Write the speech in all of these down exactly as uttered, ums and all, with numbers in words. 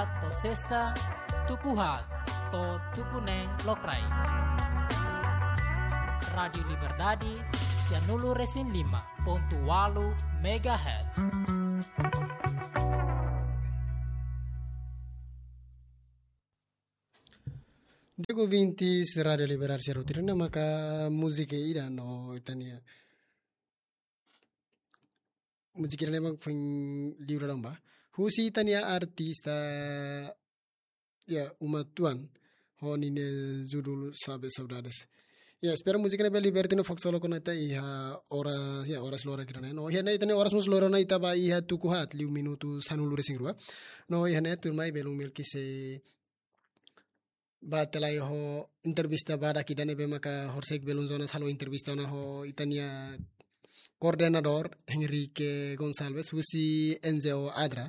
To'o sesta, tuku haat to'o tuku neen lokraik. Rádiu Liberdade, sianulu-resin-lima pontu ualu megahertz. Di'ak ouvintes Rádiu Liberdade sira hotu, ne'e maka múzika ida no ita-nia múzika ida ne'ebé foin liu dadaun ba. Husi ita-nia artista, ya, Uma Tuan, ho ninia judul Sabe Saudades. Ya, espera múzika ne'e bele liberta no fokus solo kona ita iha oras, ya, oras loron ida-ne'e. No iha ne'e ita-nia oras mós loron ona, ita ba iha tuku haat liu minutu sanulu-resin-rua. No iha ne'e tuirmai belun Melki sei bá tiha lai ho entrevista badak ida ne'ebé maka horisehik belun Jonas halo entrevista ona ho ita-nia koordenadór Henrique Gonçalves husi N G O ADRA.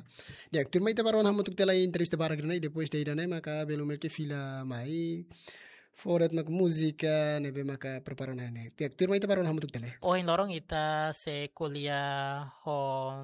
Di'ak, tuirmai ita bá rona hamutuk tiha lai entrevista badak ida-ne'e, depois de ida-ne'e maka belun Melki fila mai fó de'it ona múzika ne'ebé maka prepara ona ne'e. Di'ak, tuirmai ita bá rona hamutuk tiha lai. Ohin loron ita sei ko'alia ho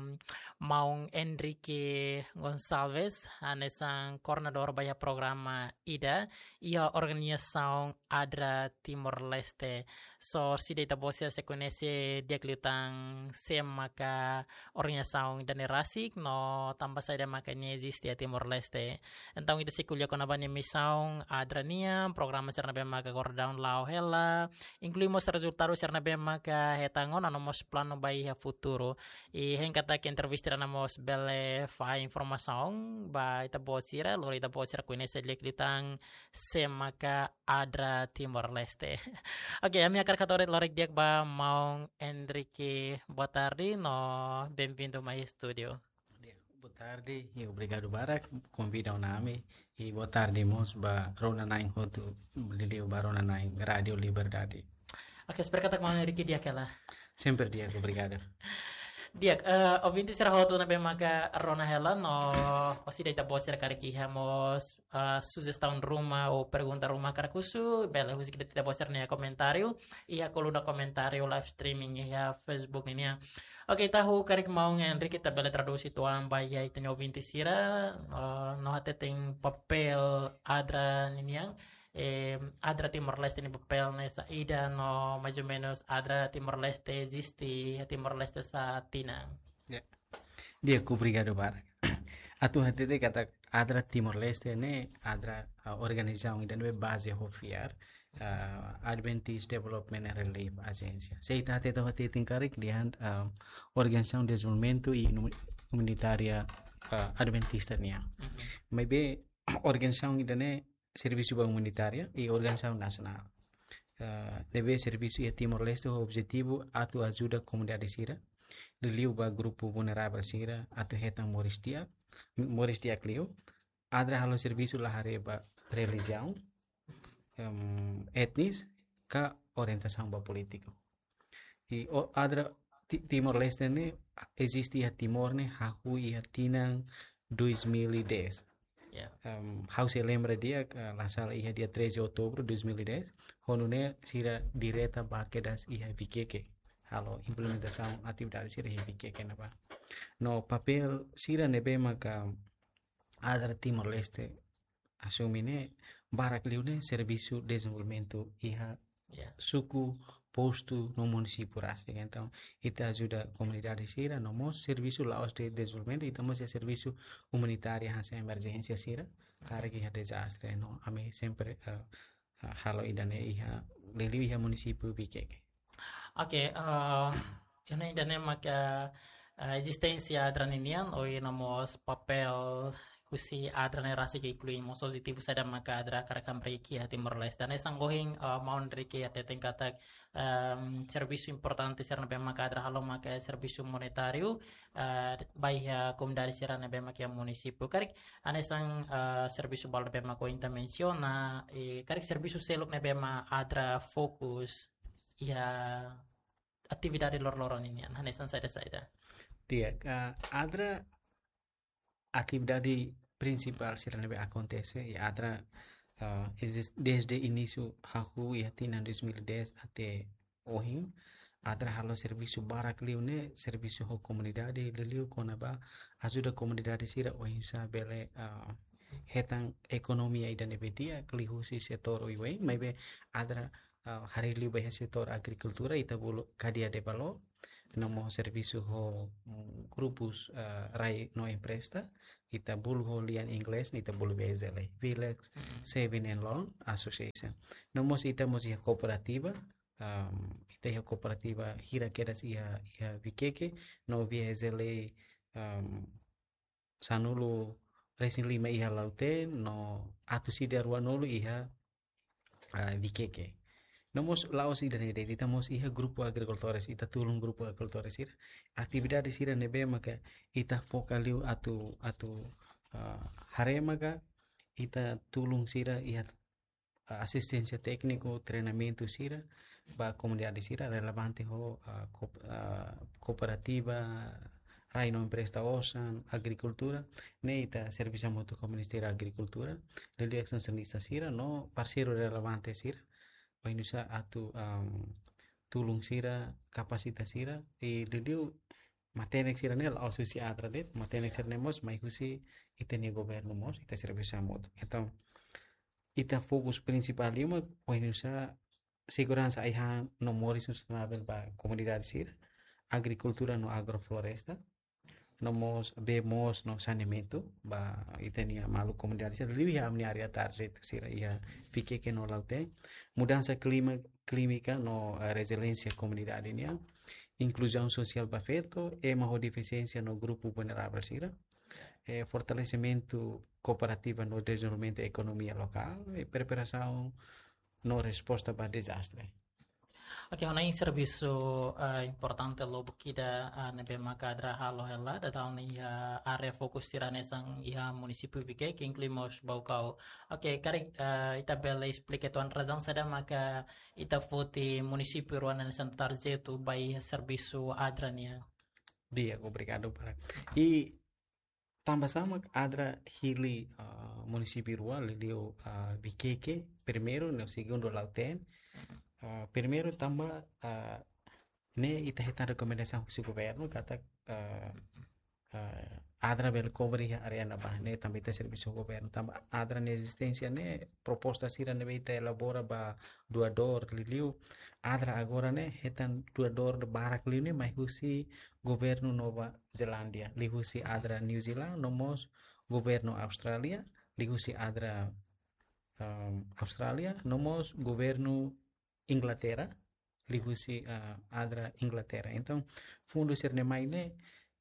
maun Henrique Gonçalves, hanesan koordenadór ba iha programa ida iha organizasaun ADRA Timor-Leste. So, orsida ita-boot sira sei koñese di'ak liután sé maka organizasaun ida-ne'e rasik no tanba saida maka nia eziste iha Timor-Leste. Entaun ita sei ko'alia kona-ba nia misaun ADRA nian, programa sira ne'ebé maka agora daudaun la'o hela, inklui mós rezultadu sira ne'ebé maka hetan ona no mós planu ba iha futuru. I hein katak entrevista ida-ne'e mós bele fahe informasaun ba ita-boot sira, lori ita-boot sira koñese di'ak liután sé maka ADRA Timor-Leste. Oke, ami hakarak hato'o de'it loron di'ak ba maun Henrique, boa tarde no bem-vindo mai estúdiu. Di'ak, boa tarde i obrigadu barak konvida ona ami, i boa tarde mós ba rona-na'in hotu, liuliu ba rona-na'in Rádiu Liberdade. Oke, espera katak maun Henrique di'ak hela. Sempre di'ak, obrigadu. Di'ak, eh, ouvinte sira hotu ne'ebé maka rona hela no orsida ita-boot sira karik iha mós, eh, sujestaun ruma ou pergunta ruma hakarak husu, bele husik de'it ita-boot sira-nia komentáriu iha koluna komentáriu live streaming iha Facebook nian. Oke, ita hakarak maun Henrique ita bele tradús uitoan ba iha ita-nia ouvinte sira, eh, no hateten papél ADRA nian. Eh, ADRA Timor-Leste nia papél ne'e saida no mais ou menus ADRA Timor-Leste eziste iha Timor-Leste sá tinan? Ya. Di'ak, obrigadu barak. Atu hatete katak ADRA Timor-Leste ne'e ADRA, ah, organizasaun ida ne'ebé baze ho fiar, ah, Adventist Development and Relief Agency. Se ita hatete, hatete karik dehan, ah, organizasaun dezenvolvimentu i inu-, umanitária, ah, Adventista nian. Mhm. Maibé organizasaun ida-ne'e servisu ba umanitária i organizasaun nasionál. Eh, ne'ebé servisu iha Timor-Leste ho objetivu atu ajuda komunidade sira, liuliu ba grupu vulneravel sira atu hetan moris di'ak, moris di'ak liu. ADRA halo servisu la haree ba relijiaun, em, etnis, ka orientasaun ba polítiku. I o ADRA Ti-, Timor-Leste ne'e eziste iha Timor ne'e hahú iha tinan dois mil e dez. Ya. Em, ha'u sei lembra di'ak, eh, la sala iha dia treze outubro dois mil e dez, ho nune'e sira direta ba kedas iha Vikeke. Halo implementasaun atividade sira iha Vikeke ne'ebá. No papél sira ne'ebé maka ADRA Timor-Leste asume ne'e barak liu ne'e servisu dezenvolvimentu iha, ya, suku, postu no munisípiu rasik. Entaun, ita ajuda komunidade sira, no mós servisu la'ós de'it dezenvolvimentu, ita mós iha servisu umanitária hanesan emerjénsia sira, karik iha dezastre, no ami sempre, eh, ha-, halo ida-ne'e iha, liuliu iha munisípiu Vikeke. Oke, eh, iha ne'e ida-ne'e maka, eh, ezisténsia ADRA ninian, ohin no mós papél husi ADRA ne'e rasik inklui mós objetivu saida maka ADRA hakarak hamriik iha Timor-Leste. Hanesan ohin, eh, maun Henrique hateten katak, em, servisu importante sira ne'ebé maka ADRA halo maka servisu umanitáriu, eh, ba iha komunidade sira ne'ebé maka iha munisípiu. Karik, hanesan, eh, servisu balu ne'ebé maka ohin ita mensiona, i karik servisu seluk ne'ebé mak ADRA fokus iha atividade loroloron ninian, hanesan saida-saida? Di'ak, eh, ADRA atividade prinsipál sira ne'ebé akontese, i ADRA, eh, ezis-, desde inísiu hahú iha tinan dois mil e dez até ohin, ADRA halo servisu barak liu ne'e, servisu ho komunidade, liuliu kona-ba ajuda komunidade sira oinsá bele, eh, hetan ekonomia ida ne'ebé di'ak liuhusi setór oioin, maibé ADRA, ah, haree liu ba iha setór agrikultura, ita bolu kadeia de valór, no mós servisu ho, mm, grupus, ah, rai no empresta, ita bolu ho lian inglés, ita bolu V S L A, Village Saving and Loan Association. No mós ita mós iha kooperativa, am, ita iha kooperativa hira kedas iha, iha Viqueque, no V S L A, am, sanulu resin lima iha Lautém, no atus ida ruanulu iha, ah, Viqueque. No mós la'ós ida-ne'e de'it, ita mós iha grupu agrikultores, ita tulun grupu agrikultores sira. Atividade sira ne'ebé maka ita foka liu atu, atu, ah, haree maka ita tulun sira iha, ah, asisténsia tékniku, treinamentu sira ba komunidade sira relevante ho, ah, ko-, ah, kooperativa, rai no empresta osan, agrikultura, ne'e ita servisu hamutuk ho Ministériu Agrikultura, liuliu ekstensionista sira no parseiru relevante sira, ba oinsá atu, am, tulun sira, kapasita sira, i liuliu matenek sira-ne'e la'ós husi ADRA de'it, matenek sira-ne'e mós mai husi ita-nia governu mós, ita servisu hamutuk. Entaun, ita fokus prinsipál liu mak oinsá seguransa ai-han no moris sustentável ba komunidade sira, agrikultura no agrofloresta, no mós bee moos no saneamentu ba ita-nia maluk komunidade sira, liuliu iha ami-nia área target sira iha Viqueque no Lautém, mudansa klima, klímika no, eh, reziliénsia komunidade nian, inkluzaun sosiál ba feto, ema ho defisiénsia no grupu vulneravel sira, eh, fortalesimentu kooperativa no dezenvolvimentu ekonomia lokál, eh, preparasaun no resposta ba dezastre. Oke, ona iha servisu, eh, importante lubuk ida, eh, ne'ebé maka ADRA halo hela, daudaun iha área fokus sira hanesan iha munisípiu Viqueque, inklui mós Baucau. Oke, karik, eh, ita bele esplika uitoan razaun saida maka ita foti munisípiu rua hanesan target ba iha servisu ADRA nian? Di'ak, obrigadu barak. I tanba sá mak ADRA hili, ah, munisípiu rua, liuliu, ah, Viqueque, primeiru, no segundu Lautém. Ah, primeiru tanba, ah, ne'e ita hetan rekomendasaun husi governu, katak, ah, ah, ADRA bele kobre iha área ne'ebá, ne'e tanba ita servisu governu, tanba ADRA nia ezisténsia ne'e, proposta sira ne'ebé ita elabora ba doadór, liuliu ADRA agora ne'e, hetan doadór barak liu ne'e, mai husi governu Nova Zelándia, liuhusi ADRA New Zealand, no mós governu Austrália, liuhusi ADRA, um, Austrália, no mós governu Inglaterra, liuhusi, uh, ADRA Inglaterra. Entaun, fundu sira-ne'e mai ne'e,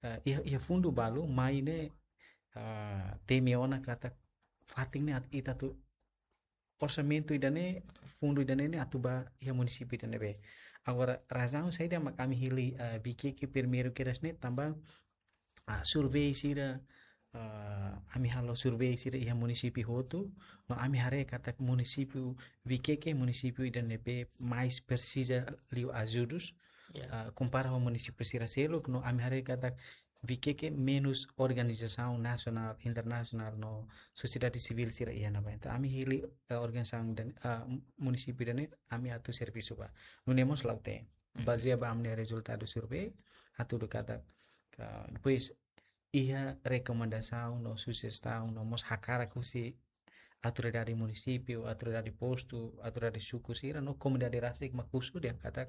uh, iha, iha fundu balu mai ne'e, uh, temi ona katak fatin ne'e atu, ita atu orsamentu ida-ne'e, fundu ida-ne'e ne'e atu ba iha munisípiu ida ne'ebé. Agora, razaun saida mak ami hili, eh, Viqueque primeiru kedas ne'e tanba, ah, survei sira, ah, ami halo survei sira iha munisípiu hotu, no ami haree katak munisípiu Viqueque, munisípiu ida ne'ebé mais presiza liu ajudus, Ya. ah, kompara ho munisípiu sira seluk, no ami haree katak Viqueque menus organizasaun nasionál, internasionál no sosiedade sivíl sira iha ne'ebá. Entaun ami hili, eh, organizasaun ida-ne'e, ah, munisípiu ida-ne'e, ami atu servisu ba. Nune'e mós Lautém. Mhm. Bazeia ba ami-nia rezultadu survei, hatudu katak, ka, depois iha rekomendasaun no sujestaun no mós hakarak husi autoridade munisípiu, autoridade postu, autoridade suku sira no komunidade rasik mak husu dehan katak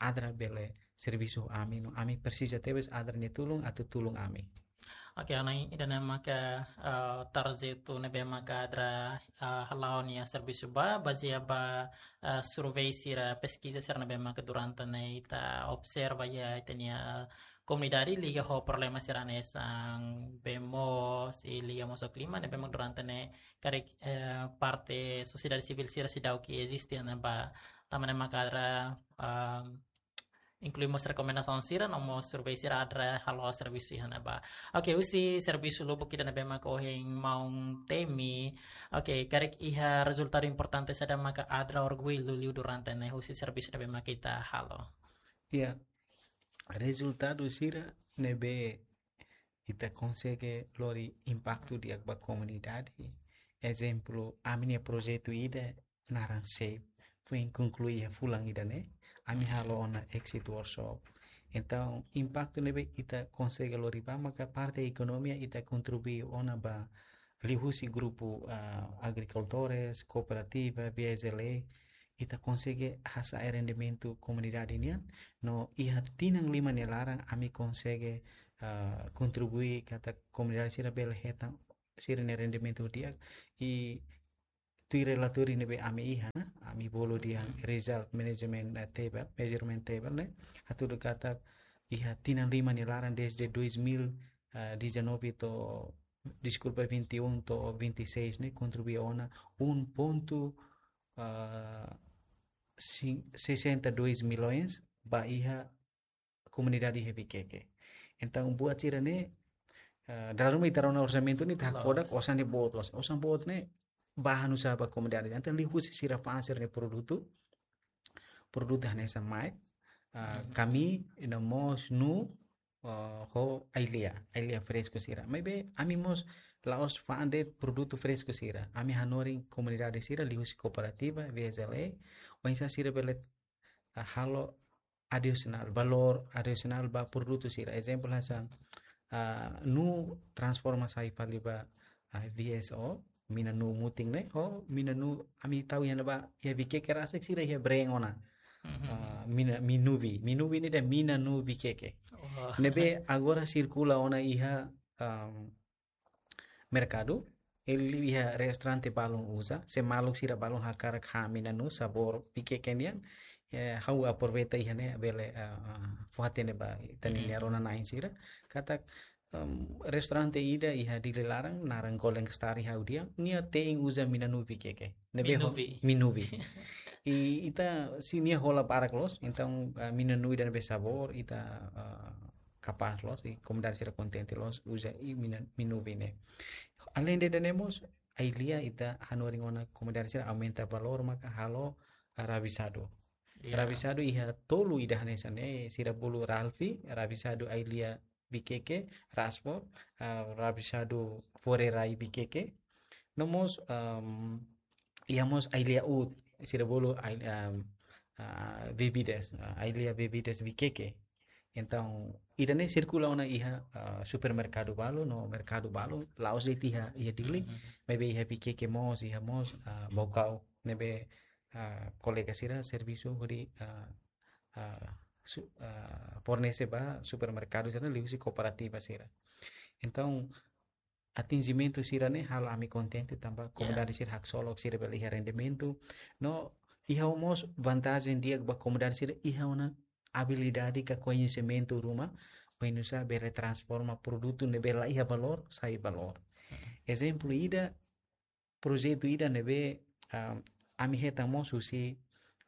ADRA bele servisu ami no ami presiza tebes ADRA nia tulun atu tulun ami. Oke, ona ida-ne'e maka, eh, target ne'ebé maka ADRA, eh, hala'o nia servisu ba, bazeia ba, eh, survei sira, peskiza sira ne'ebé maka durante ne'e ita observa iha ita-nia komunidade liga ho problema sira hanesan bee moos, i liga mós ho klima, ne'ebé mak durante ne'e karik, eh, parte sosiedade sivíl sira seidauk eziste ona ba, tanba ne'e maka ADRA, ah, inklui mós rekomendasaun sira, no mós survei sira ADRA halo servisu iha ne'ebá. Oke, husi servisu lubuk ida ne'ebé maka ohin maun temi. Oke, karik iha rezultadu importante saida maka ADRA orgullu liu durante ne'e husi servisu ne'ebé maka ita halo? Ya, rezultadu sira ne'ebé ita konsege lori impaktu di'ak ba komunidade. Ezemplu, ami-nia projetu ida naran SAVE, foin konklui iha fulan ida-ne'e, ami halo ona exit workshop. Entaun, impaktu ne'ebé ita konsege lori ba maka parte ekonomia ita kontribui ona ba, liuhusi grupu, ah, agrikultores, kooperativa, V S L A, ita konsege hasa'e rendimentu komunidade nian, no iha tinan lima nia laran ami konsege, ah, kontribui katak komunidade sira bele hetan sira-nia rendimentu di'ak, i tuir relatóriu ne'ebé ami iha, ami bolu dehan result management, eh, table, measurement table ne'e, hatudu katak iha tinan lima nia laran desde dois mil e dezanove to'o, deskulpa, vinte e um to'o vinte e seis ne'e kontribui ona um ponto, ah, cin-, sessenta e dois milhões ba iha komunidade iha Viqueque. Entaun, buat sira-ne'e, ah, dala ruma ita rona orsamentu ne'e ita hakfodak, osan ne'e boot loos. Osan boot ne'e ba halo nu'usá ba komunidade. Entaun, liuhusi sira fa'an sira-nia produtu, produtu hanesan mai, ah, kamii, no mós nuu, ah, ho ai-lia, ai-lia fresku sira. Maibé ami mós la'ós fa'an de'it produtu fresku sira. Ami hanorin komunidade sira liuhusi kooperativa, V S L A, oinsá sira bele, ah, halo adisionál, valór adisionál ba produtu sira. Ezemplu hanesan, ah, nuu transforma sai fali ba, ah, V S O, mina nuu mutin ne'e, ho mina nuu ami tau iha ne'ebá, iha Viqueque rasik sira iha brand ona. Ah, mina, Minuvi, Minuvi ne'e dehan mina nuu Viqueque. Ne'ebé agora sirkula ona iha, am, merkadu, liuliu iha restaurante balun uza, se maluk sira balun hakarak han mina nuu sabór Viqueque nian, eh, ha'u aproveita iha ne'e bele, ah, ah, fó-hatene ba ita-nia rona-na'in sira. Katak, em, restaurante ida iha Dili laran, naran Golden Star iha ha'u dehan, nia te'in uza mina nuu Viqueque. Ne'ebé ho-, Minuvi. Minuvi. I ita, se nia hola barak loos, entaun, ah, mina nuu ida ne'ebé sabór, ita, ah, kapás loos, i komunidade sira kontente loos, uza i mina, Minuvi ne'e. Aleinde ida-ne'e mós, ai-lia ita hanorin ona komunidade sira aumenta valór maka halo, ah, rabisadu. Rabisadu iha tolu ida hanesan ne'e, sira bolu Ralfi, rabisadu ai-lia Viqueque, raspo, ah, rabisadu fore-rai Viqueque. No mós, am, iha mós ai-lia uut, sira bolu ai-, am, ah, bebidas, ah, ai-lia bebidas Viqueque. Entaun, ida-ne'e sirkula ona iha, ah, supermerkadu balun, no merkadu balun, la'ós de'it iha, iha Dili, maibé iha Viqueque mós, iha mós, ah, Baucau, ne'ebé, ah, kolega sira servisu hodi, ah, ah, su-, ah, fornese ba supermerkadu sira liuhusi kooperativa sira. Entaun, atinjimentu sira-ne'e halo ami kontente tanba komunidade sira haksolok, sira bele iha rendimentu. No iha mós vantajen di'ak ba komunidade sira iha ona abilidade ka koñesimentu ruma, oinsá bele transforma produtu ne'ebé la iha valór sai valór. Ezemplu ida, projetu ida ne'ebé, ah, ami hetan mós husi,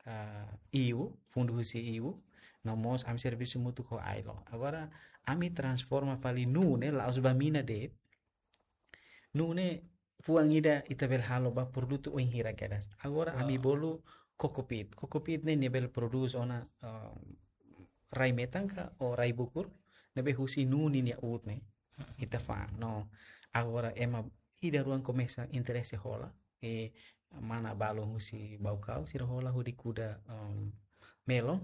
ah, E U, fundu husi E U, no mós ami servisu hamutuk ho ailo. Agora, ami transforma fali nuu ne'e, la'ós ba mina de'it. Nuu ne'e fuan ida ita bele halo ba produtu oin hira kedas. Agora, ami bolu coco peat. Coco peat ne'e nia bele produce ona, ah, rai-metan ka ou rai-bukur, ne'ebé husi nuu ninia uut ne'e. Ita fa'an, no. Agora, ema ida-rua komesa interese hola, i mana balun husi Baucau, sira hola hodi kuda, em, melon,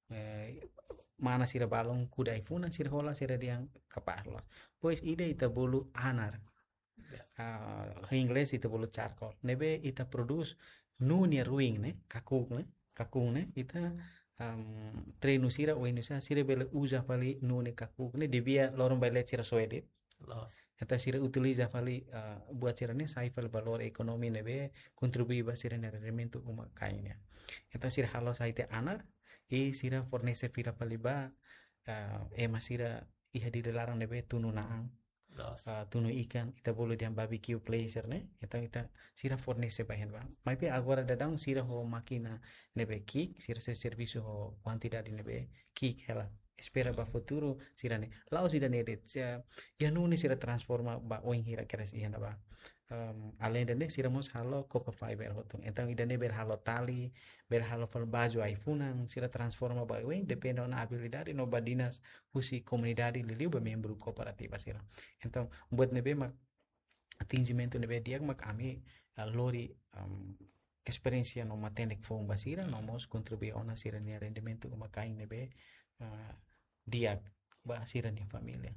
eh, mana sira balun kuda ai-funan, sira hola, sira dehan kapás loos. Depois ida ita bolu anar. Ah, iha inglés ita bolu charcoal. Ne'ebé ita produce nuu nia ruin ne'e, kakuk ne'e, kakun ne'e, ita, am, treinu sira, oinsá sira bele uza fali nuu ne'e, kakuk ne'e, desde loron bailet sira soe de'it. Loos. Entaun sira utiliza fali, ah, buat sira-ne'e sai fali valór ekonomi ne'ebé kontribui ba sira-nia rendimentu uma-kain nian. Entaun sira halo sai tiha anar, i sira fornese fila fali ba, ah, ema sira iha Dili laran ne'ebé tunu na'an. Loos. Ah, tunu ikan, ita bolu dehan barbecue place ne'e. Entaun ita sira fornese ba iha ne'ebá. Maibé agora daudaun sira ho mákina ne'ebé ki'ik, sira sei servisu ho kuantidade ne'ebé ki'ik hela. Espera ba futuru sira-ne'e. La'ós ida-ne'e de'it, sira, iha nuu ne'e sira transforma ba oin hira kedas iha ne'ebá. Em, aleinde ne'e sira mós halo coco fiber hotu. Entaun ida-ne'e bele halo tali, bele halo fali baju ai-funan, sira transforma ba oin, depende ona abilidade no badinas husi komunidade liuliu ba membru kooperativa sira. Entaun, buat ne'ebé mak atinjimentu ne'ebé di'ak mak ami, ah, lori, am, esperiénsia no matenek foun ba sira, no mós kontribui ona sira-nia rendimentu uma-kain ne'ebé, ah, di'ak ba sira-nia família.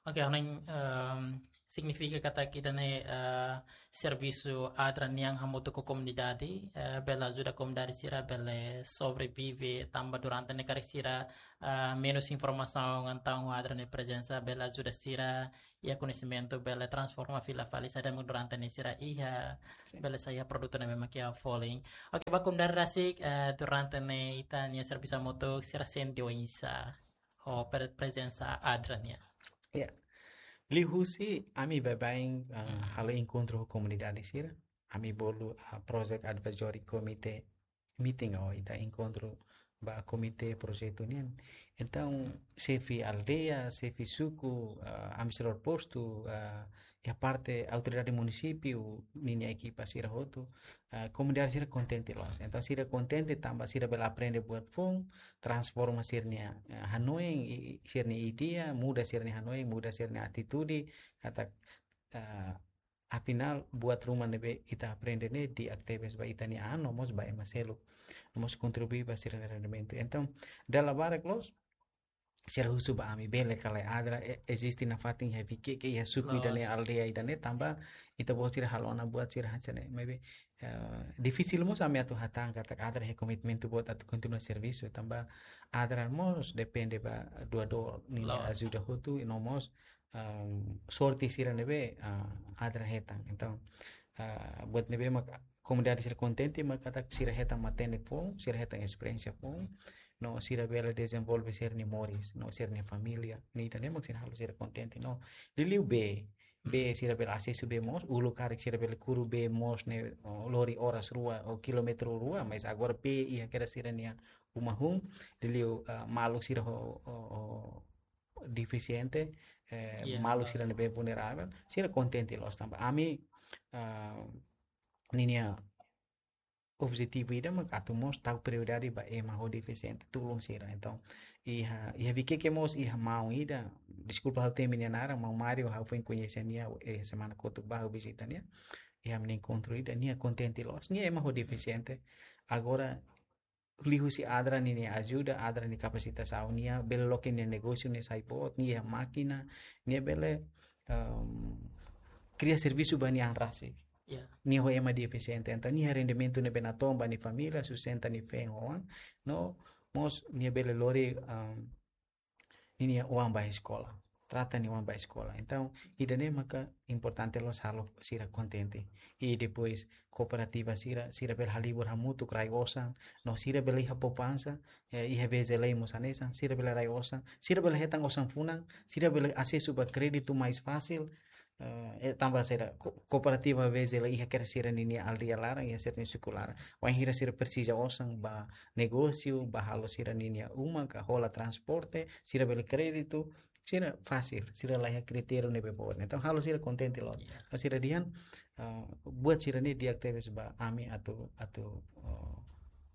Oke, ha'u hanoin, em, signifika katak ita-nia, eh, servisu ADRA nian hamutuk ho komunidade, eh, bele ajuda komunidade sira bele sobrevive tanba durante ne'e karik sira, eh, menus informasaun, entaun ADRA nia prezensa bele ajuda sira, iha koñesimentu bele transforma fila fali saida mak durante ne'e sira iha, Sin. bele sai iha produtu ne'ebé mak iha folin. Oke, ba komunidade rasik, eh, durante ne'e ita-nia servisu hamutuk sira sente oinsá ho pre-, prezensa ADRA nian? Ya. Liuhusi ami baibain, ah, Hmm. halo enkontru ho komunidade sira. Ami bolu, ah, Project Advisory Committee meeting ou ita enkontru ba komité projetu nian. Entaun, xefe aldeia, xefe suku, ah, administradór postu, ah, iha parte autoridade munisípiu, ninia ekipa sira hotu, ah, komunidade sira kontente loos. Entaun, sira kontente tanba sira bele aprende buat foun, transforma sira-nia, ah, hanoin, i, i, sira-nia ideia, muda sira-nia hanoin, muda sira-nia atitude, katak, ah, afinál, buat ruma ne'ebé ita aprende ne'e di'ak tebes ba ita-nia an, no mós ba ema seluk, no mós kontribui ba sira-nia rendimentu. Entaun, dala barak loos, sira husu ba ami bele ka lae ADRA, e-, eziste nafatin iha Viqueque, iha suku ida-ne'e, Loos. aldeia ida-ne'e, tanba ita-boot sira halo ona buat sira hanesan ne'e. Maibé, eh, difisil mós ami atu hatán katak ADRA iha komitmentu boot atu kontinua servisu, tanba ADRA mós depende ba doadór ninia Loos. ajuda hotu, i no mós, ehm, sorte sira ne'ebé, ah, ADRA hetan. Entaun, ah, buat ne'ebé mak komunidade sira kontente mak katak sira hetan matenek foun, sira hetan esperiénsia foun, no sira bele dezenvolve sira-nia moris, no sira-nia família, ne'e ida-ne'e mak sira halo sira kontente, no. Liuliu bee, bee sira bele asesu bee moos, uluk karik sira bele kuru bee moos ne'e, o, lori oras rua ou kilómetru rua, mas agora bee iha kedas sira-nia uma hun, liuliu, ah, maluk sira ho, ho, ho defisiente, eh, Iya, maluk sira loos. ne'ebé vulneravel, sira kontente loos tanba ami, ah, ninia objetivu ida mak atu mós tau prioridade ba ema ho defisiente, tulun sira. Entaun, iha, iha Viqueque mós iha maun ida, deskulpa ha'u temi nia naran, maun Mário, ha'u foin koñese nia, eh, semana kotuk ba ha'u vizita nia. Iha ami-nia enkontru ida, nia kontente loos, nia ema ho defisiente. Agora, liuhusi ADRA ninia ajuda, ADRA nia kapasitasaun, nia bele loke nia negósiu ne'e sai boot, nia iha mákina, nia bele, ehm, kria servisu ba nia an rasik. Ya. Nia ho ema defisiente, entaun nia rendimentu ne'ebé natoon ba nia família, sustenta nia feen ho oan, no mós nia bele lori, ehm, ninia oan ba eskola. Trata nia oan ba eskola. Entaun, ida-ne'e maka importante loos halo sira kontente. I depois, kooperativa sira, sira bele halibur hamutuk rai osan, no sira bele iha poupansa, eh, iha VGL mós hanesan, sira bele rai osan, sira bele hetan osan funan, sira bele asesu ba kréditu mais fasil, eh, eh, tanba sira ko-, kooperativa VGL iha kedas sira ninia aldeia laran, iha sira-nia suku laran. Wainhira sira presiza osan ba negósiu, ba halo sira ninia uma, ka hola transporte, sira bele kréditu, sira fasil, sira la iha kritériu ne'ebé boot. Entaun, halo sira kontente loos. Ya. Halo sira dehan, ah, buat sira-ne'e di'ak tebes ba ami atu, atu, oh,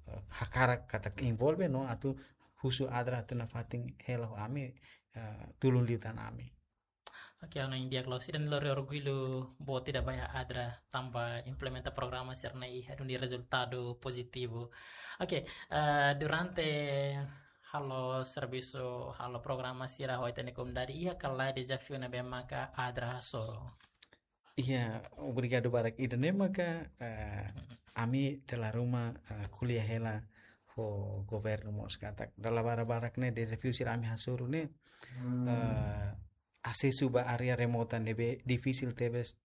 eh, hakarak katak envolve, no atu husu ADRA atu nafatin hela ho ami, eh, tulun liután ami. Oke, ha'u hanoin di'ak loos, ida-ne'e lori orgullu boot ida ba iha ADRA tanba implementa programa sira-ne'e iha duni rezultadu pozitivu. Oke, eh, durante halo servisu, halo programa sira ho ita-nia komunidade, iha ka lae dezafiu ne'ebé maka ADRA hasoru? Iya, obrigadu barak. Ida-ne'e maka, eh, ami dala ruma, eh, ko'alia hela ho governu mós katak dala barak-barak ne'e dezafiu sira ami hasoru ne'e, eh, asesu ba área remota ne'ebé difisil tebes,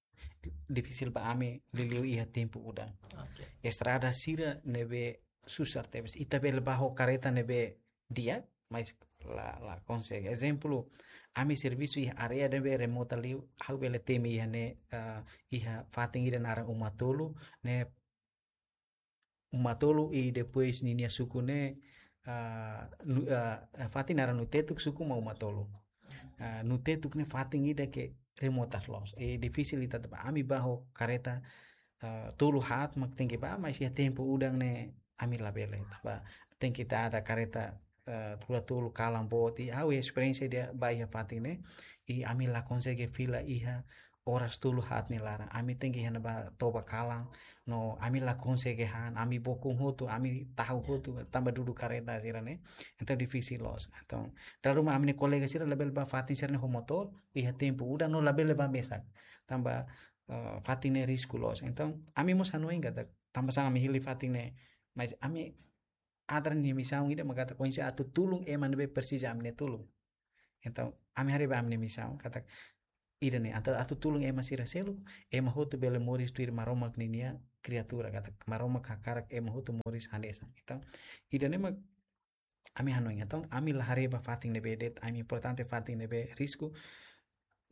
difisil ba ami liuliu iha tempu udan. Oke. Estrada sira ne'ebé susar tebes. Ita bele bá ho kareta ne'ebé di'ak, mas la, la konsege. Ezemplu, ami servisu iha área ne'ebé remota liu, ha'u bele temi iha ne'e, eh, iha fatin ida naran Uma Tolu, ne'e Uma Tolu i depois ninia suku ne'e, ah, Nu-, ah, fatin naran Nutetuk, suku mak Uma Tolu. Ah, Nutetuk ne'e fatin ida ke remota loos. I difisil ita tanba ami bá ho kareta, ah, tolu haat mak tenke bá, mas iha tempu udan ne'e ami labele. Tanba tenke dada kareta, ah, rua tolu kalan boot. I ha'u esperiénsia ida bá iha fatin ne'e. I ami la konsege fila iha oras tolu haat nia laran. Ami tenke iha ne'ebá toba kalan, no ami la konsege han, ami bokon hotu, ami tahu hotu, tanba dudu kareta sira ne'e. Entaun difisil loos. Entaun, dala ruma ami-nia kolega sira labele bá fatin sira ne'e ho motór, iha tempu udan no labele bá mesak. Tanba, eh, fatin ne'e risku loos. Entaun, ami mós hanoin katak, tanba sá ami hili fatin ne'e, mas ami ADRA nia misaun ida mak katak oinsá atu tulun ema ne'ebé presiza ami-nia tulun. Entaun, ami haree ba ami-nia misaun, katak ida-ne'e, atu, atu tulun ema sira seluk, ema hotu bele moris tuir Maromak ninia kriatura, katak Maromak hakarak ema hotu moris hanesan. Entaun, ida-ne'e mak ami hanoin. Entaun, ami la haree ba fatin ne'ebé de'it, ami importante fatin ne'ebé risku,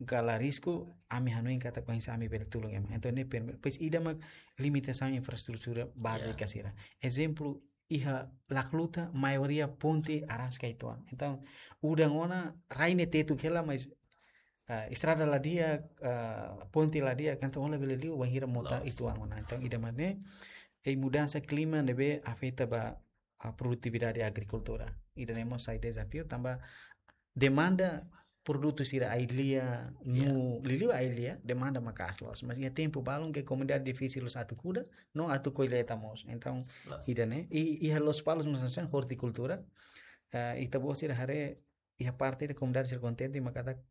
ka la risku, ami hanoin katak oinsá ami bele tulun ema. Entaun, ne'e primeiro, depois ida mak limitasaun infraestrutura bázika sira. Ezemplu, iha Lacluta, maioria ponte araska uitoan. Entaun, udan ona, rai ne'e tetuk hela, mas, ah, estrada la di'ak, ah, ponte la di'ak, entaun ó labele liu bainhira mota uitoan ona. Entaun, ida mak ne'e, i mudansa klima ne'ebé afeta ba, ah, produtividade agrikultura. Ida-ne'e mós sai dezafiu, tanba demanda produtu sira ai-lia, no liuliu ai-lia, demanda maka'as loos. Mas iha tempu balun ke komunidade difisil loos atu kuda, no atu kolleita mós. Entaun, ida-ne'e, i, iha Lospalos mós hanesan hortikultura. Eh, ita-boot sira haree, iha parte ida komunidade sira kontente, mak katak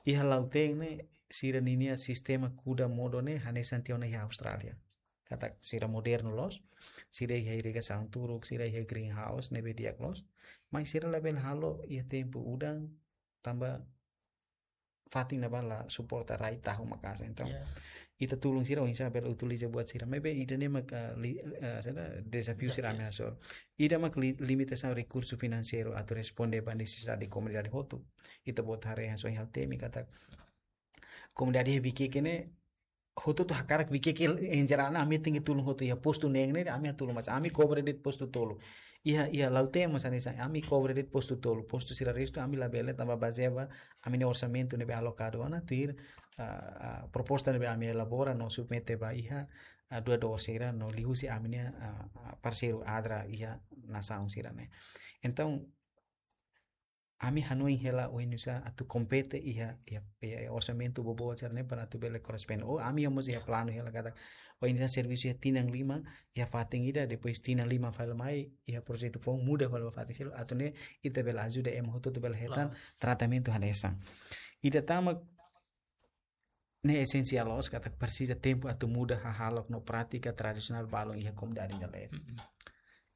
iha Lautém ne'e, sira ninia sistema kuda modo ne'e, hanesan tiha ona iha Austrália. Katak sira modernu loos, sira iha irrigasaun turuk, sira iha greenhouse, ne'ebé di'ak loos. Mas sira labele halo iha tempu udan, tanba fatin ne'ebá la suporta rai tahu maka'as. Entaun, ita tulun sira oinsá bele utiliza buat sira. Maibé ida-ne'e mak, eh, li-, eh, saida, dezafiu sira ami hasoru. Ida mak li-, limitasaun rekursu finanseiru atu responde ba nesesidade komunidade hotu. Ita-boot haree hanesan iha Altemi katak komunidade iha Viqueque ne'e, hotu-hotu hakarak Viqueque, em geral, ami tenke tulun hotu iha postu neen ne'e, ami tulun, mas ami kobre de'it postu tolu. Iha, iha Lautém mós hanesan, ami kobre de'it postu tolu. Postu sira restu, ami labele, tanba bazeia ba ami-nia orsamentu ne'ebé alokadu ona, tuir, ah, ah, proposta ne'ebé ami elabora, no submete ba iha, ah, doadór sira, no liuhusi ami-nia, ah, ah, parseiru ADRA iha nasaun sira ne'e. Entaun, ami hanoin hela oinsá atu kompete iha, iha, iha orsamentu boboot sira ne'e para atu bele korresponde. Ou ami mós iha planu hela katak oinsá servisu iha tinan lima, iha fatin ida, depois tinan lima fali mai, iha projetu foun muda fali ba fatin seluk, atu nune'e ita bele ajuda ema hotu atu bele hetan tratamentu hanesan. Ida tan mak ne'e esensiál loos katak presiza tempu atu muda hahalok no prátika tradisionál balun iha komunidade ida leet.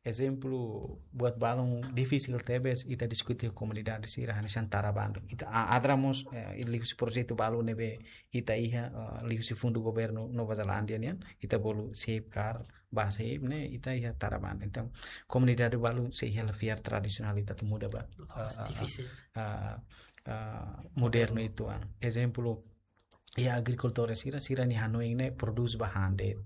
Ezemplu, buat balun difisil tebes ita diskute komunidade sira hanesan tara bandu. Ita a-, ADRA mós, eh, liuhusi projetu balu ne'ebé ita iha, eh, liuhusi fundu governu Nova Zelándia nian, ita bolu Safeguard, ba Safeguard ne'e, ita iha tara bandu. Entaun, komunidade balu sei iha la fiar tradisionál ita atu muda ba, ah, ah, difisil. Ah, ah, modernu uitoan. Ezemplu, iha agrikultór sira, sira-nia hanoin ne'e produz ba han de'it.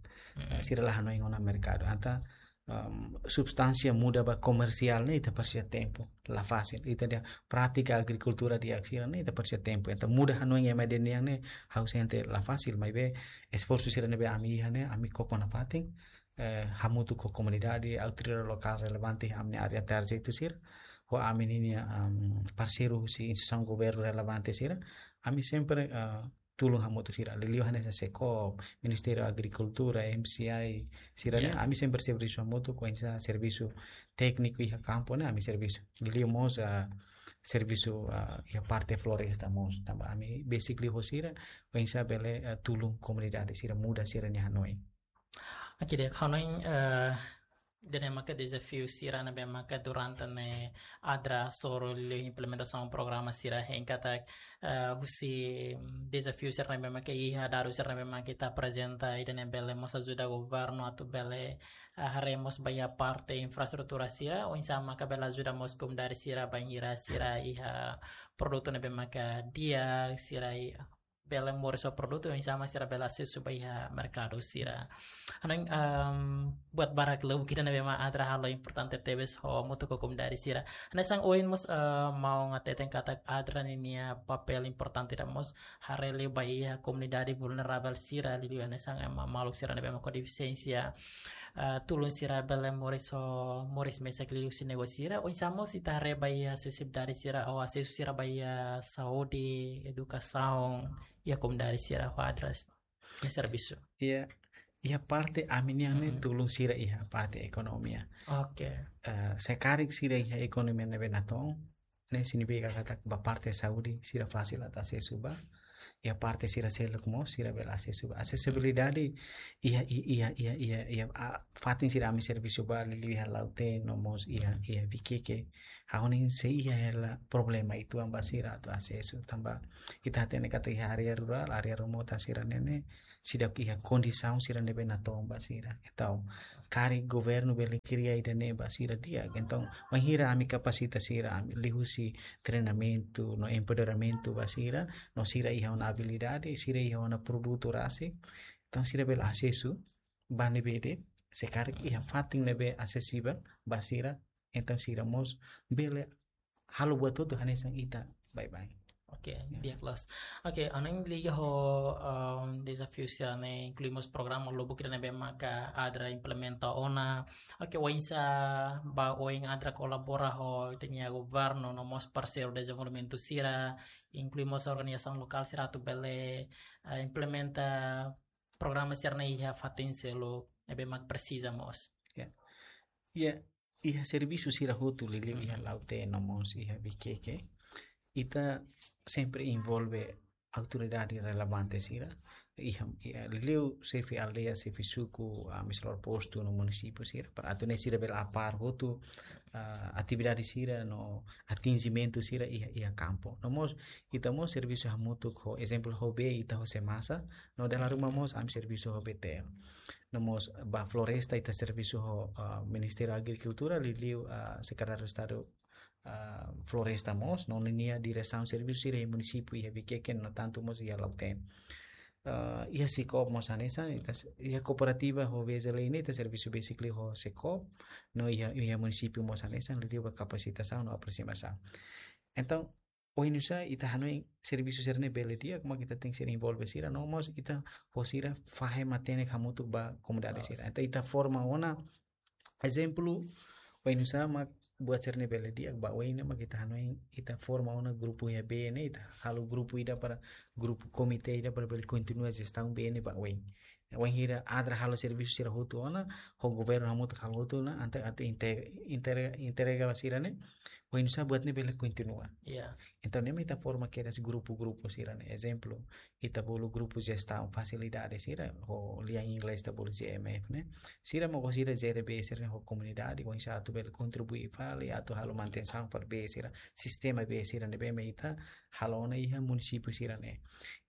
Sira la hanoin ona merkadu. Entaun, em, substánsia muda ba komersiál ne'e ita presiza tempu. La fasil. Ita-nia prátika agrikultura di'ak sira ne'e ita presiza tempu. Entaun muda hanoin ema ida nian ne'e ha'u sente la fasil, maibé esforsu sira ne'ebé ami iha ne'e, ami koko nafatin, eh, hamutuk ho komunidade, autoridade lokál relevante iha ami-nia área target sira, ho ami-nia, em, parseiru husi instituisaun governu relevante sira, ami sempre, eh, tulun hamutuk sira. Liuliu hanesan SEKOB, Ministériu Agrikultura, M C I, sira ne'e, ami sempre servisu hamutuk, oinsá servisu tékniku iha kampu ne'e, ami servisu. Liuliu mós, ah, servisu, ah, iha parte floresta mós. Tanba ami besik liu ho sira, oinsá bele, ah, tulun komunidade sira muda sira-nia hanoin. Oke, di'ak, hanoin, eh, ida-ne'e maka dezafiu sira ne'ebé maka durante ne'e ADRA hasoru liu implementasaun programa sira hein katak, eh, husi, mm, dezafiu sira ne'ebé maka iha, dadus sira ne'ebé maka ita aprezenta, ida-ne'e bele mós ajuda governu atu bele, eh, haree mós ba iha parte infraestrutura sira, oinsá maka bele ajuda mós komunidade sira bainhira sira iha produtu ne'ebé maka di'ak, sira iha bele moris ho produtu, oinsá mak sira bele asesu ba iha merkadu sira. Hanoin, em, buat barak lubuk ida ne'ebé mak ADRA halo importante tebes ho hamutuk ho komunidade sira. Hanesan ohin mós, eh, maun hateten katak ADRA ninia papél importante ida mós haree liu ba iha komunidade vulneravel sira, liuliu hanesan ema maluk sira ne'ebé mak ho defisiénsia, eh, tulun sira bele moris ho, moris mesak liuliu husi negósiu sira, oinsá mós ita haree ba iha asesibilidade sira, ou asesu sira ba iha saúde, edukasaun, iha komunidade sira ho ADRA iha servisu? Iha, iha parte ami-nian ne'e, mhm, tulun sira iha parte ekonomia. Oke. Eh, se karik sira iha ekonomia ne'ebé natoon, ne'e signifika katak ba parte saúde sira fasil atu asesu ba. Iha parte sira seluk mós sira bele asesu ba. Asesibilidade iha, iha, iha, iha, iha, iha, ah, fatin sira ami servisu ba, liuliu iha Lautém no mós iha, mhm, iha Viqueque. Ha'u hanoin sei iha hela problema uitoan ba sira atu asesu. Tanba ita hatene katak iha área rurál, área remotu sira-ne'e ne'e seidauk iha kondisaun sira ne'ebé natoon ba sira. Entaun, karik governu bele kria ida-ne'e ba sira di'ak. Entaun, wainhira ami kapasita sira, ami liuhusi treinamentu no empoderamentu ba sira, no sira iha ona abilidade, sira iha ona produtu rasik, entaun sira bele asesu ba ne'ebé de'it, se karik iha fatin ne'ebé asesivel ba sira, entaun sira mós bele halo buat hotu hanesan ita baibain. Oke, ya, di'ak loos. Oke, hanoin liga ho, em, dezafiu sira-ne'e, inklui mós programa lubuk ida ne'ebé maka ADRA implementa ona. Oke, oinsá ba oin ADRA kolabora ho ita-nia governu no mós parseiru dezenvolvimentu sira, inklui mós organizasaun lokál sira atu bele, eh, implementa programa sira-ne'e iha fatin seluk ne'ebé mak presiza mós? Ya. Ya, iha servisu sira hotu liuliu iha, mhm, Lautém no mós iha Viqueque, ita sempre envolve autoridade relevante sira. Iha, iha liuliu xefe aldeia, xefe suku, ah, administradór postu no munisípiu sira, para atu nune'e sira bele apar hotu, ah, atividade sira no atinjimentu sira iha, iha kampu. No mós, ita mós servisu hamutuk ho, ezemplu ho bee ita ho SEMASA, no dala ruma, mhm, mós ami servisu ho BTL. No mós ba floresta ita servisu ho, ah, Ministériu Agrikultura, liuliu, ah, Sekretáriu Estadu, ah, Floresta mós, no ninia diresaun servisu sira iha munisípiu iha Viqueque, no tantu mós iha Lautém. Ah, iha SECOB mós hanesan, ita s-, iha kooperativa ho VZLN ita servisu basically ho SECOB, no iha, iha munisípiu mós hanesan, liuliu ba kapasitasaun no aprosimasaun. Entaun, oinsá ita hanoin servisu sira-ne'e bele di'ak, mak ita tenke ser envolve sira, no mós ita ho sira fahe matenek hamutuk ba komunidade sira. Loos. Entaun ita forma ona, ezemplu, oinsá mak buat sira-ne'e bele di'ak ba oin ne'e, mak ita hanoin ita forma ona grupu iha bee ne'e, ita halo grupu ida para grupu komité ida para bele kontinua jestaun bee ne'e ba oin. Wainhira ADRA halo servisu sira hotu ona, ho governu hamutuk halo hotu ona, entaun atu inte-, inter-, entrega ba sira-ne'e, oinsá buat ne'e bele kontinua. Ya. Entaun, ne'e mak ita forma kedas grupu-grupu sira-ne'e. Ezemplu, ita bolu grupu jestaun fasilidade sira, ho lian inglés ita bolu G M F ne'e. Sira mak sira jere bee sira-ne'e ho komunidade, oinsá atu bele kontribui fali, atu halo manutensaun fali bee sira, sistema bee sira ne'ebé mak ita halo ona iha munisípiu sira-ne'e.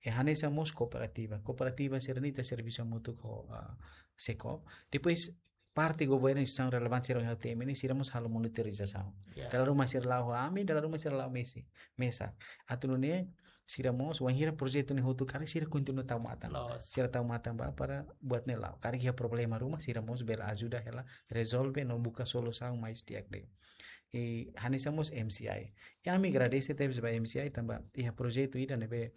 I hanesan mós kooperativa. Kooperativa sira-ne'e ita servisu hamutuk ho, ah, SECOB. Depois, parte governu, instituisaun relevante sira iha H T M ne'e, sira mós halo monitorizasaun. Ya. Dala ruma sira la'o ho ami, dala ruma sira la'o mesi, mesak. Atu nune'e, sira mós, wainhira projetu ne'e hotu karik, sira kontinua tau matan. Loos. Sira tau matan ba para buat ne'e la'o. Karik iha problema ruma, sira mós bele ajuda hela rezolve no buka solusaun mais di'ak de'it. I hanesan mós M C I. I ami agradese tebes ba M C I tanba iha projetu ida ne'ebé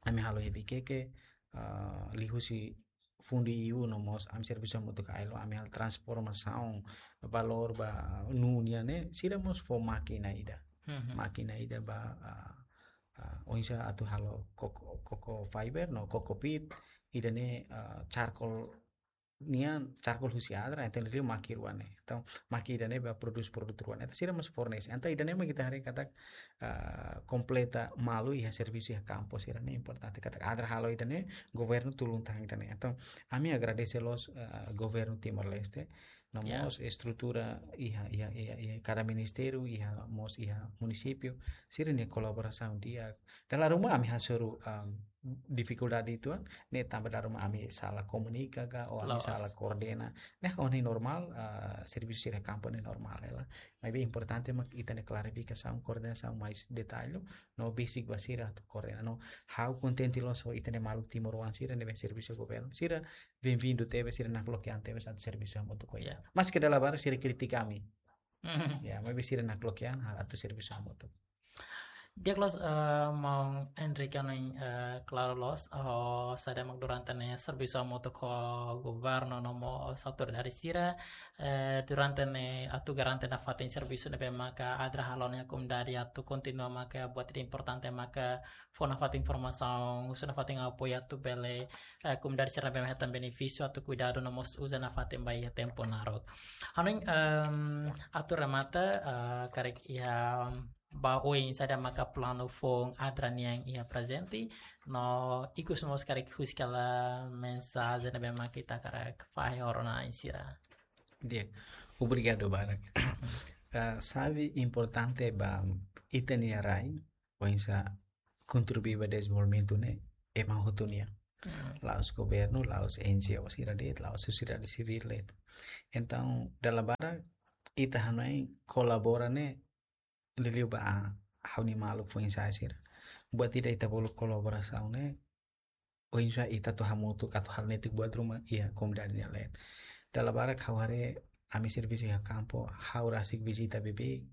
ami halo iha Viqueque, ah, liuhusi fundu E U no mós ami servisu hamutuk ho ILO, ami halo transformasaun valór ba nuu nian ne'e, sira mós fó mákina ida. Mhm. Mákina ida ba, ah, ah, oinsá atu halo coco, coco fiber no coco peat, ida-ne'e, ah, charcoal nian, charcoal husi ADRA, entaun liu maki rua ne'e. Entaun, maki ida-ne'e ba produs produtu rua ne'e. Entaun sira mós fornese. Entaun ida-ne'e mak ita haree katak, ah, kompleta malu iha servisu iha kampu sira-ne'e importante. Katak ADRA halo ida-ne'e, governu tulun tan ida-ne'e. Entaun, ami agradese loos, ah, governu Timor-Leste, no, ya, mós estrutura iha, iha, iha, iha kada ministériu, iha mós iha munisípiu, sira-nia kolaborasaun di'ak. Dala ruma ami hasoru, um, difikuldade uitoan, ne'e tanba dala ruma ami sala komunika ka, ou ami, loos, sala koordena. Ne'e ha'u hanoin normál, ah, servisu sira kampu ne'e normál hela. Maibé importante mak ita-nia klarifikasaun, koordenasaun mais detalle, no besik ba sira atu koordena. No ha'u kontente loos ho ita-nia maluk timoroan sira ne'ebé servisu governu. Sira benvindu tebes, sira nakloke an tebes atu servisu hamutuk ho ita. Ya. Maske dala barak sira kritika ami. Mhm. Ya, maibé sira nakloke an, ha, atu servisu hamutuk. Di'ak loos, eh, maun Enrique, hanoin, eh, klaru loos, oh, saida mak durante ne'e servisu hamutuk ho governu no mós autoridade sira, eh, durante ne'e atu garante nafatin servisu ne'ebé maka ADRA halo iha komunidade atu kontinua maka buat ida importante maka fó nafatin informasaun, husu nafatin apoiu atu bele, eh, komunidade sira ne'ebé hetan benefísiu atu kuidadu no mós uza nafatin ba iha tempu naruk. Hanoin, em, atu remata, eh, karik iha ba oin saida maka planu foun ADRA nian iha prezente, no ikus mós karik husik hela mensajen ne'ebé maka ita hakarak fahe ho rona-na'in sira. Di'ak, obrigadu barak. Eh, xave importante ba ita-nia rai, oinsá kontribui ba dezenvolvimentu ne'e, ema hotu nian. Hmm. La'ós governu, la'ós N G O sira de'it, la'ós sosiedade sivíl de'it. Entaun, dala barak, ita hanoin kolabora ne'e, liuliu ba ha'u-nia maluk foin-sa'e sira. Buat ida ita bolu kolaborasaun ne'e, oinsá ita atu hamutuk atu halo netik buat ruma iha komunidade nia leet. Dala barak ha'u haree ami servisu iha kampu, ha'u rasik vizita beibeik,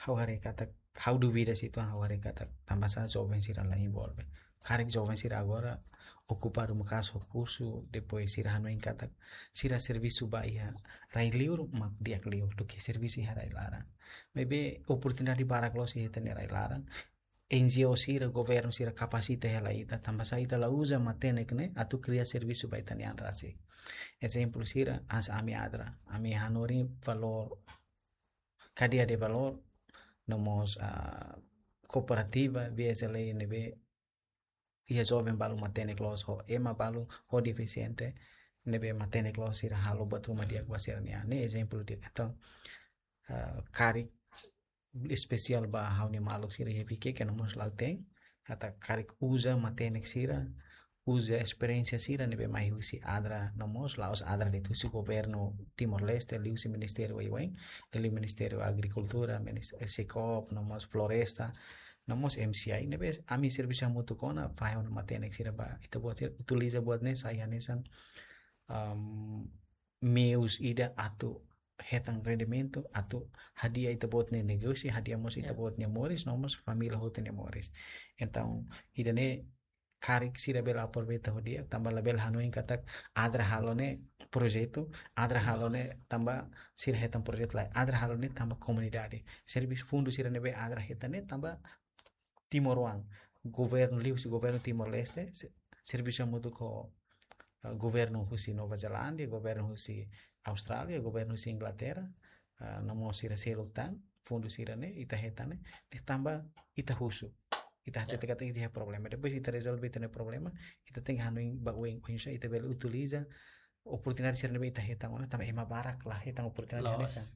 ha'u haree katak, ha'u duvida situasaun, ha'u haree katak, tanbasá joven sira la envolve. Karik joven sira agora okupadu maka'as ho kursu, depois sira hanoin katak, sira servisu ba iha rai liur mak di'ak liu duké servisu iha rai laran. Maibé oportunidade barak loos iha ita-nia rai laran. N G O sira, governu sira kapasita hela ita, tanbasá ita la uza matenek ne'e atu kria servisu ba ita-nia an rasik. Ezemplu sira, hanesan ami ADRA, ami hanorin valór, kadeia de valór, no mós, ah, kooperativa, B S L A ne'ebé iha joven balu matenek loos ho, ema balu ho defisiente, ne'ebé matenek loos sira halo buat ruma di'ak ba sira-nia an. Ne'e ezemplu di'ak. Entaun, ah, karik espesiál ba ha'u-nia maluk sira iha Viqueque no mós Lautém, katak karik uza matenek sira, uza esperiénsia sira ne'ebé mai husi ADRA no mós, la'ós ADRA de'it, husi governu Timor-Leste, liuhusi ministériu wai-wain, liuliu Ministériu Agrikultura, minis-, eh, SECOP, no mós Floresta, no mós M C I, ne'ebé ami servisu hamutuk ona, fahe ona matenek sira ba ita-boot sira, utiliza buat ne'e sai hanesan, am, meius ida atu hetan rendimentu, atu hadi'a ita-boot nia negósiu, hadi'a mós, ya, ita-boot nia moris, no mós família hotu nia moris. Entaun, ida-ne'e karik sira bele aproveita ho di'ak, tanba labele hanoin katak ADRA halo ne'e projetu, ADRA halo ne'e tanba sira hetan projetu lae, ADRA halo ne'e tanba komunidade. Servisu fundu sira ne'ebé ADRA hetan ne'e tanba timoroan, governu liuhusi governu Timor-Leste, se-, servisu hamutuk ho, eh, governu husi Nova Zelándia, governu husi Austrália, governu husi Inglaterra, eh, no mós sira seluk tan, fundu sira-ne'e, ita hetan ne'e, ne'e tanba ita husu. Ita, ya, hatete katak ita iha problema. Depois ita rezolve ita-nia problema, ita tenke hanoin ba oin, oinsá ita bele utiliza oportunidade sira ne'ebé ita hetan ona, tanba ema barak la hetan oportunidade. Loos. Hanesan,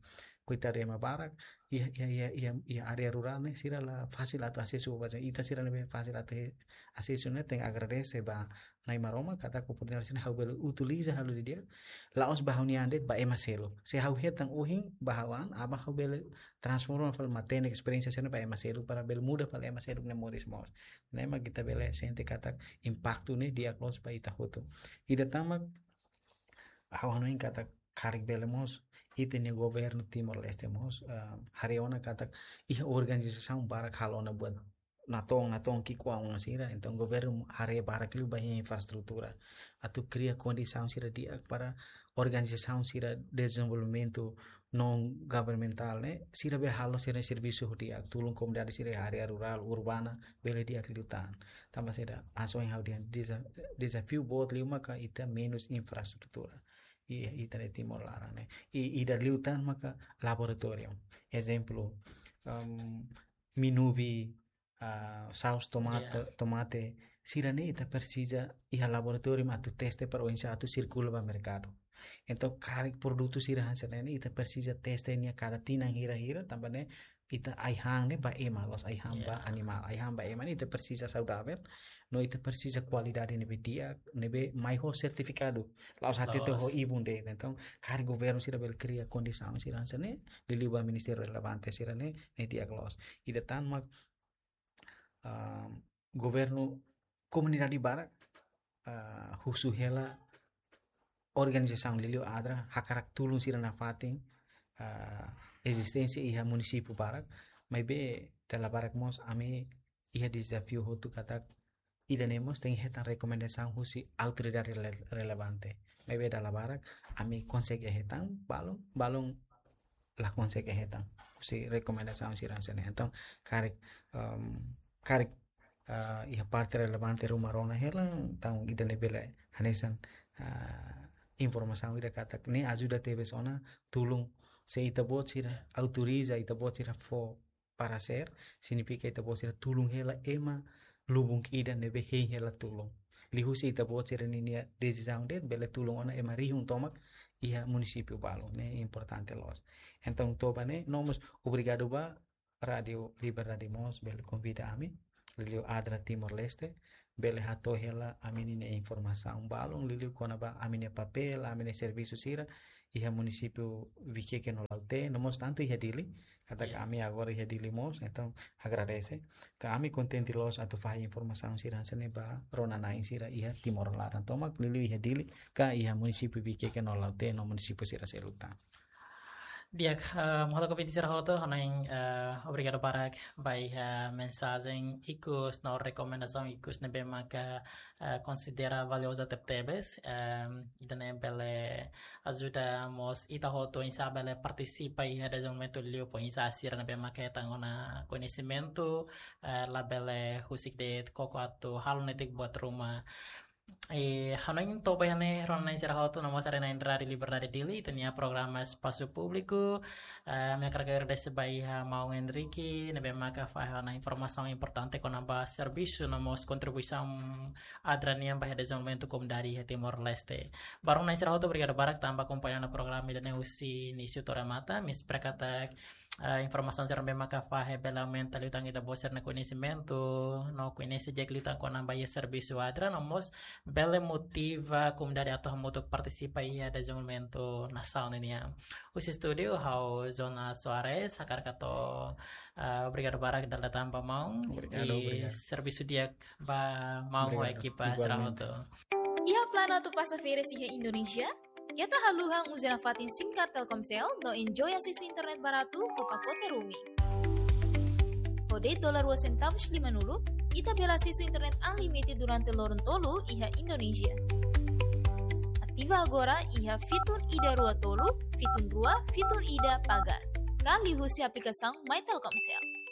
koitadu ema barak, iha, iha, iha, iha, iha área rurál ne'e, sira la fasil atu asesu ba, ita sira ne'ebé fasil atu he-, asesu ne'e, tenke agradese ba Na'i Maromak, katak oportunidade sira-ne'e ha'u bele utiliza halo didi'ak, la'ós ba ha'u-nia an de'it, ba ema seluk. Se ha'u hetan ohin ba ha'u an, aban ha'u bele transforma fali matenek esperiénsia sira-ne'e ba ema seluk, para bele muda fali ema seluk nia moris mós. Ne'e mak ita bele sente katak impaktu ne'e di'ak loos ba ita hotu. Ida tan mak, ha'u hanoin katak karik bele mós, ita-nia governu Timor-Leste mós, ah, haree ona katak iha organizasaun barak halo ona buat natoon, natoon ki'ikoan sira, entaun governu haree barak liu ba iha infraestrutura. Atu kria kondisaun sira di'ak para organizasaun sira dezenvolvimentu non governamentál ne'e, sira bele halo sira-nia servisu ho di'ak, tulun komunidade sira iha área rurál, urbana, bele di'ak liután. Tanba saida, hanesan ohin ha'u dehan, deza-, dezafiu boot liu maka ita menus infraestrutura. I, ita-nia Timor laran ne'e. I, ida liután maka laboratóriu. Ezemplu, em, minuvi, ah, saus tomate, ya, tomate, sira-ne'e ita presiza iha laboratóriu atu teste para oinsá atu sirkula ba merkadu. Entaun, karik produtu sira hanesan ne'e ne'e, ita presiza teste nia kada tinan hira-hira, tanba ne'e ita ai-han ne'e ba ema loos, ai-han, ya, ba animál, ai-han ba ema ne'e ita presiza saudavel, no ita presiza kualidade ne'ebé di'ak, ne'ebé mai ho sertifikadu, la'ós hatete ho, loos, ibun de'it. Entaun, karik governu sira bele kria kondisaun sira hanesan ne'e, liuliu ba ministériu relevante sira-ne'e, ne'e di'ak loos. Ida tan mak, ah, governu komunidade barak, ah, husu hela organizasaun liuliu ADRA, hakarak tulun sira nafatin, ah, ezisténsia iha munisípiu barak, maibé dala barak mós ami iha dezafiu hotu katak ida-ne'e mós tenke hetan rekomendasaun husi autoridade rele-, relevante. Maibé dala barak ami konsege hetan, balun, balun la konsege hetan husi rekomendasaun sira hanesan ne'e. Entaun, karik, em, karik, ah, iha parte relevante ruma rona hela, entaun ida-ne'e bele hanesan, ah, informasaun ida katak ne'e ajuda tebes ona tulun se ita-boot sira autoriza ita-boot sira fó paresér, signifika ita-boot sira tulun hela ema lubun ida ne'ebé hein hela tulun. Liuhusi ita-boot sira ninia desizaun de'it bele tulun ona ema rihun tomak iha munisípiu balun, ne'e importante loos. Entaun, to'o ba ne'e, no mós obrigadu ba Rádiu Liberdade mós bele konvida ami, liuliu ADRA Timor-Leste, bele hato'o hela ami-nia informasaun balun, liuliu kona-ba ami-nia papél, ami-nia servisu sira iha munisípiu Viqueque no Lautém, no mós tantu iha Dili, katak ami agora iha Dili mós, entaun agradese. Entaun ami kontente loos atu fahe informasaun sira hanesan ne'e ba rona-na'in sira iha Timor laran tomak, liuliu iha Dili, ka iha munisípiu Viqueque no Lautém, no munisípiu sira seluk tan. Di'ak, eh, maluk ouvinte sira hotu, hanoin, eh, obrigadu barak ba iha mensajen ikus no rekomendasaun ikus ne'ebé maka, eh, konsidera valioza tebetebes, em, ida-ne'e bele ajuda mós ita hotu oinsá bele partisipa iha dezenvolvimentu liu fó oinsá sira ne'ebé maka hetan ona koñesimentu, eh, labele husik de'it koko atu halo netik buat ruma. Eh, hanoin to'o ba iha ne'e rona-na'in sira hotu no mós haree-na'in Rádiu Liberdade Dili, ita-nia programa Espasu Públiku. Eh, ami hakarak agradese ba iha maun Henrique, ne'ebé maka fahe ona informasaun importante kona-ba servisu no mós kontribuisaun ADRA nian ba iha dezenvolvimentu komunidade iha Timor-Leste. Ba rona-na'in sira hotu, obrigadu barak tanba akompaña ona programa ida-ne'e husi inísiu to'o remata, ami espera katak, eh, informasaun sira ne'ebé maka fahe bele aumenta liután ita-boot sira-nia koñesimentu, no koñese di'ak liután kona-ba iha servisu ADRA, no mós bele motiva komunidade atu hamutuk partisipa iha dezenvolvimentu nasaun nian. Husi estúdiu, ha'u Jonas Soares, hakarak hato'o, eh, obrigadu barak dala ida tan ba maun, obrigadu, i obrigadu. Servisu di'ak ba maun ho, obrigadu, ekipa sira, igualmente, hotu. Iha planu atu pasa férias iha Indonézia? Keta haluha uza nafatin SIM card Telkomsel no enjoy asesu internet baratu ho pakote roaming. Ho de'it dolar rua sentavus lima-nulu, ita bele asesu internet unlimited durante loron tolu iha Indonézia. Ativa agora iha fitun ida rua tolu, fitun rua, fitun ida pagar. Ka liuhusi aplikasaun My Telkomsel.